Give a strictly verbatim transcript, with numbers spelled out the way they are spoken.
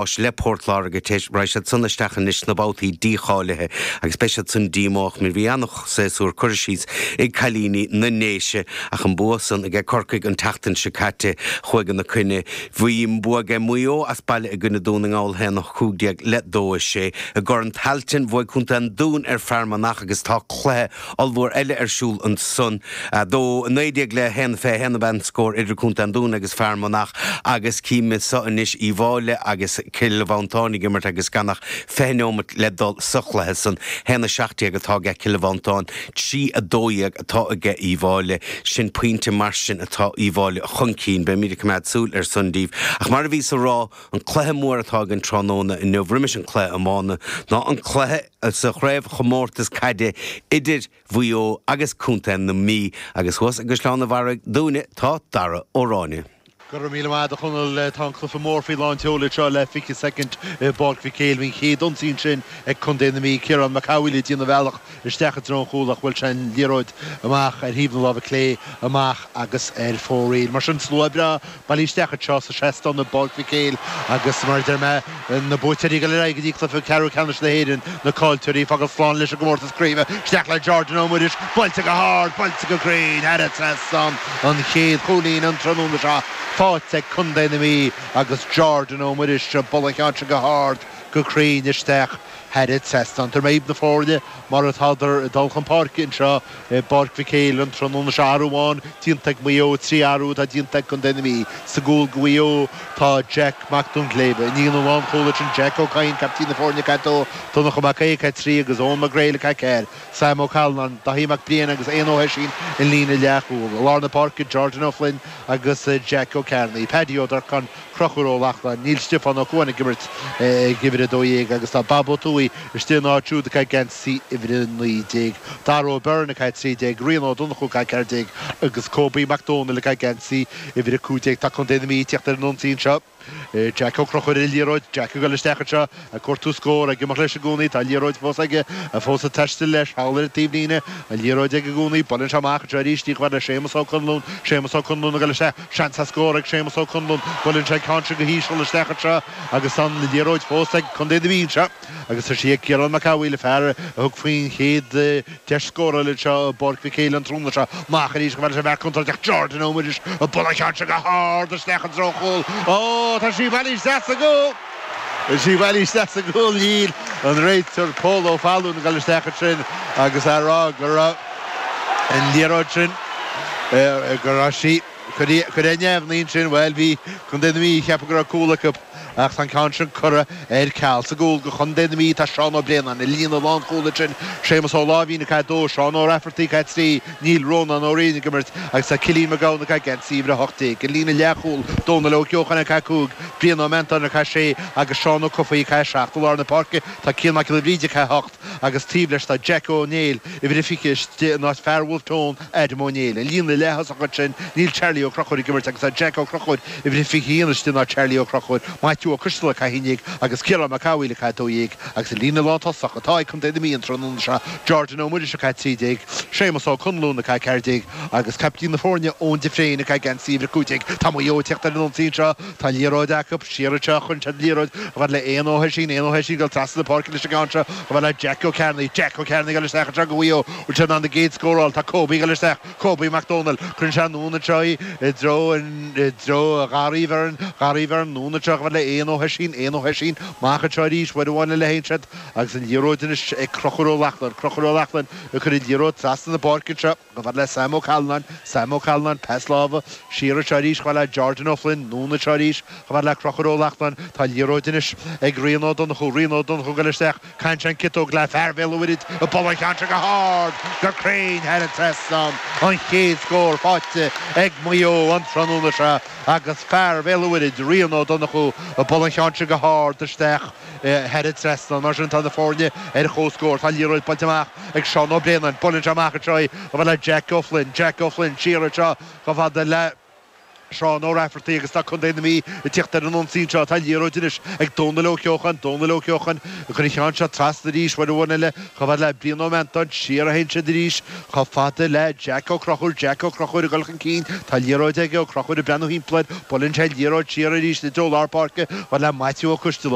Le Port Láirge raghaidh siad san isteach anois sna babhtaí dícháilithe agus beidh siad san díomách mar bhí an-séasúr curtha síos ag cailíní na nDéise ach an bua san aige Corcaigh an tseachtain seo caite chuaigh ina coinne. Bhí an bua aige Maigh Eo as baile i gcoinne Dún na nGall haon a cúig déag le dó a sé. I gCorn Tailteann bhuaigh Contae an Dúin ar Fear Manach agus tá cluiche ollmhór eile ar siúl ansan. Dó a naoi déag le haon fiche haon ab ea an scór idir Contae an Dúin agus Fear Manach agus cím anseo anois Uíbh Fhailí agus Cill Mhantáin ag imirt agus gan ach fiche neomat le dul sa chluiche san. Haon a seacht déag atá aige Cill Mhantáin, trí a dó dhéag atá aige Uíbh Fhailí. Sin pointe mar sin atá Uíbh Fhailí chun cinn. Beimid ag coimeád súil ar san daoibh. Ach mar a bhíos a rá, an cluiche mór atá againn tráthnóna inniu roimis an cluiche iomána ná an cluiche sa chraobhchomórtas caide idir Mhaigh Eo agus Contae na Mí agus thuas i gCaisleán an Bharraigh dúinne tá Dara Ó Ráinne. Go raibh míle maith agat a Chonaill. Tá an cluiche mór faoi lán tseoil anseo le fiche soicind i bPáirc Mhic Éil. Bhí an chéad ionsaí ansin ag contae na Mí, Ciarán Mac Amhaoil ag déanamh a bhealach isteach i dtreo an chúil ach bhuail sé an liathróid amach ar thaobh na láimhe clé amach agus ar fóraoil. Mar sin, slua breá bailithe isteach anseo sa seastán i bPáirc Mhic Éil agus mar a deir mé, na buaiteoirí ag dul ar aghaidh go dtí cluiche ceathrú ceannais na hÉireann, na caillteoirí ag fágáil slán leis an gcomórtas craoibhe. Isteach le Jordan Ó Muiris, buailte go hard, buailte go cruinn thar an trasnán, an chéad chúilín an tráthnóna seo faighte ag contae na Mí agus Jordan Ó Muiris ag bualadh an cheann seo go hard, go cruinn isteach thar an trasnán. Tabharfaidh mé na foirne mar atádar ag dul chun páirce anseo i bPáirc Mhic Éil an tráthnóna seo. Athrú amháin déanta ag Maigh Eo, trí athrú atá déanta ag contae na Mí. Sa gcúl do Mhaigh Eo tá Jack Mac Duinnshléibhe. I líne an lánchúil ansin Jack Ó Cadhain, caiptín na foirne ag a dó, Donncha Mac Aodha ag a trí agus Eoin Mac Gréil ag a ceathair. Sam Ó Callanáin, Daithí Mac Briain agus Éanna Ó hOisín i líne leathchúil. I lár na páirce, Jordan Ó Floinn agus Jack Ó Cearnaigh, Paddy Ó Durcáin, Conchúr Ó Lochlainn. Níl Stiofán Ó Cuain ag imirt ag uimhir a dó dhéag agus tá Bob Ó Tuathaigh istigh ina áit siúd ag caitheamh geansaí uimhir a naoi déag. Dara Ó Beirn ag caitheamh trí déag, Rian Ó Donnchú ag caitheamh ceathair déag agus Kobe Mac Dónaill ag caitheamh geansaí uimhir a cúig déag. Tá Contae na Mí ag tíocht ar an ionsaí anseo. Jack Ó Conchúir ar an liathróid. Jack ag dul isteach anseo ag cuartú scór, ag imeacht leis i gcónaí. Tá an liathróid fós aige, fós ag taisteal leis thall ar an taobhlíne. An liathróid aige i gcónaí. Buaileann sé amach anseo arís í chomh fada le Séamus Ó Conluain. Séamus Ó Conluain ag dul isteach. Seans ar scór ag Séamus Ó Conluain. Buaileann sé an ceann seo go híseal isteach anseo agus an liathróid fós ag Contae na Mí anseo. Agus tá sí ag Ciarán Mac Amhaoil, an fear a thug faoin chéad deis scórála anseo i bPáirc Mhic Éil an tráthnóna seo. Amach arís chomh fada leis an bhfear contúirteach Jordan Ó Muiris ag bualadh an cheann seo go hard isteach i dtreo an chúil. Ó, tá sí bailithe isteach sa gcúl! Tá sí bailithe isteach sa gcúl. Níl an réiteoir Pól Ó Fallúin ag dul isteach ansin agus á rá go raibh an liathróid sin, go raibh sí curtha ar neamhní ansin. Bhuel, bhí Contae na Mí ag ceapadh go raibh cúl acu ach tá an ceann sin curtha ar ceal. Sa gcúl do Chontae na Mí tá Seán Ó Braonáin, i líne lánchúil ansin, Séamus Ó Láimhín ag caitheamh a dó, Seán Ó Raifeartaigh ag caitheamh trí, Níl Rónán Ó Riain ag imirt agus tá Cillian Mac Gabhann ag caitheamh geansaí uimhir a hocht déag. I líne leathchúil, Dónal Ó Ceocháin ag caitheamh cúig, Brian Ó Meantáin ag caitheamh sé agus Seán Ó Cofaigh ag caitheamh seacht. I lár na páirce tá Cian Mac Giolla Bhríde ag caitheamh hocht agus taobh leis tá Jack Ó Néill, uimhir a fiche, istigh in áit fear Bhulf Tón, Adam Ó Néill. I líne leath-thosach ansin níl Charlie Ó Conchúir ag imirt agus tá Jack Ó Conchúir, uimhir a fiche a haon, istigh in áit Charlie Ó Conchúir, Maitiú Ó Coisteala ag caitheamh a haon déag agus Ciarán Mac Amhaoil ag caitheamh a dó dhéag agus i líne lántosach atá ag Contae na Mí an tráthnóna seo, Jordan Ó Muiris ag caitheamh a trí déag, Séamus Ó Conluain ag caitheamh a ceathair déag agus caiptín na foirne Eoin de Fréin ag caitheamh geansaí uimhir a cúig déag. Tá Maigh Eo ag teacht ar an ionsaí anseo. Tá an liathróid acu. Siar anseo cuireann siad an liathróid chomh fada le Éanna Ó hOisín. Éanna Ó hOisín ag dul trasna na páirce leis an gceann seo chomh fada le Jack Ó Cearnaigh. Jack Ó Cearnaigh ag dul isteach anseo do Mhaigh Eo. Bhfuil sé in ann an gcéad scór a fháil? Tá Kobe ag dul isteach. Kobe Mac Dónaill. Cuireann sé anonn anseo í i dtreo i dtreo Gharraí Bheirn. Garraí Bheirn anonn anseo chomh fada le Éanna Ó hOisín. Éanna Ó hOisín amach anseo arís. Uair amháin eile a théann siad agus an liathróid anois ag Conchúr Ó Lochlainn. Conchúr Ó Lochlainn ag cur an liathróid trasna na páirce anseo chomh fada le Sam Ó Callanáin. Sam Ó Callanáin, pas láimhe siar anseo arís chomh fada le Jordan Ó Floinn. Anonn anseo arís chomh fada le Conchúr Ó Lochlainn. Tá an liathróid anois ag Rian Ó Donnchú. Rian Ó Donnchú ag dul isteach. Caitheann sé an ciotóg le fear Bhéal an Mhuirthead ag bualadh an cheann seo go hard, go cruinn thar an trasnán. An chéad scór faighte ag Maigh Eo an tráthnóna seo agus fear Bhéal an Mhuirthead, Rian Ó Donnchú, ag bualadh an cheann seo go hard isteach thar an trasnán. Mar sin tá na foirne ar comhscór. Tá an liathróid buailte amach ag Seán Ó Braonáin. Buaileann sé amach anseo í chomh fada le Jack O'Flynn. Jack O'Flynn siar anseo chomh fada le. Seán Ó Raifeartaigh agus tá Contae na Mí ag tíocht ar an ionsaí anseo. Tá liathróid anois ag Dónal Ó Ceocháin, Dónal Ó Ceocháin ag cur an cheann seo trasna arís uair amháin eile chomh fada le Brian Ó Meantáin. Siar a théann siad arís chomh fada le Jack Ó Conchúir, Jack Ó Conchúir ag dul chun cinn. Tá liathróid aige, Ó Conchúir ag breathnú thimpeall air. Buaileann sé an liathróid siar arís i dtreo lár páirce chomh fada le Maitiú Ó Coistealbha.